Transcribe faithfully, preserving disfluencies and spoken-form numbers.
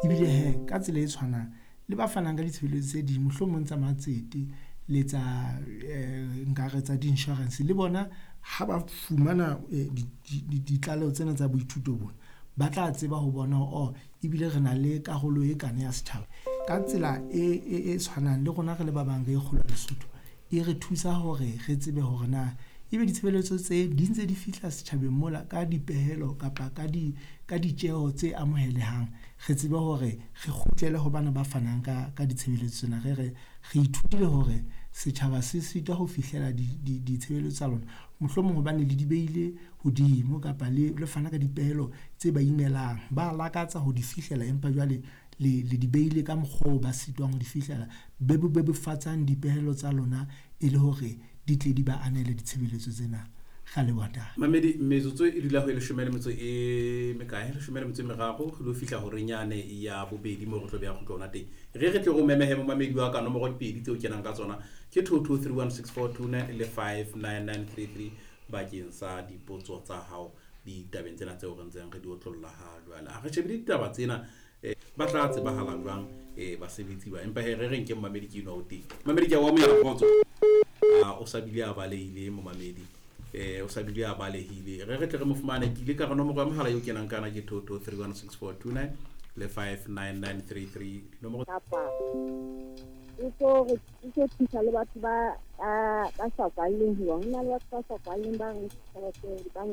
Ebile hee ka tsela e tshwanang le ba fanang ka ditshebeletso tse ding, mohlomong tsa matsete le tsa nkare tsa di-insurance. Le bona ha ba fumana ditlaleho tsena tsa boithuto bona, ba tla tseba ho bona hore oh, ebile re na le karolo e kana ya setjhaba. Ka tsela e tshwanang le rona re le ba bang re e kgolo Lesotho, e re thusa hore re tsebe hore na ebe ditshebeletso tse di ntse di fihla setjhabeng mola ka dipehelo kapa ka di ka ditjeho tse amohelehang. Re tsebe hore re kgutlele ho bana ba fanang ka ka ditshebeletso tsena. Re re, re ithutile hore setjhaba se sitwa ho fihlela ditshebeletso tsa lona. Mohlomong hobane le di behile hodimo kapa le le fana ka dipehelo tse ba imelang. Ba lakatsa ho di fihlela, empa jwale le le di behile ka mokgwa oo ba sitwang ho di fihlela. Bebofatsang dipehelo tsa lona e le hore di tle di ba anele ditshebeletso tsena. Re a leboha ntate. Mamedi, metsotso e dula ho e leshome le metso e mekae? Leshome le metso e meraro re lo fihla horeng yane ya bobedi moo re tlo beha kgutlo hona teng. Re re tle re o memehe momamedi wa ka nomoro di pedi tseo kenang ka tsona ke two two three one six four two nine le five nine nine three three bakeng sa dipotso tsa hao ditabeng tsena tseo re ntseng re di otlolla ha jwale. Ha re shebile ditaba tsena eh, ba tla tsebahala jwang eh, basebetsi ba, empa he re re nke momamedi ke enwa o teng. Momamedi ke a o amohela kgotso. Ah, o sa bile a balehile momamedi. Eh, o sa bile a balehile. Re re tle re mo fumane. Ke ile ka re nomoro ya mohala eo kenang ka yona ke two two three one six four two nine le five nine nine three three. Dinomoro Kapa e tlo re e tlo thusa le batho ba ba ba sa kwalleng, hoba ho na le batho ba sa kwalleng ba reng tjhelete dibankeng.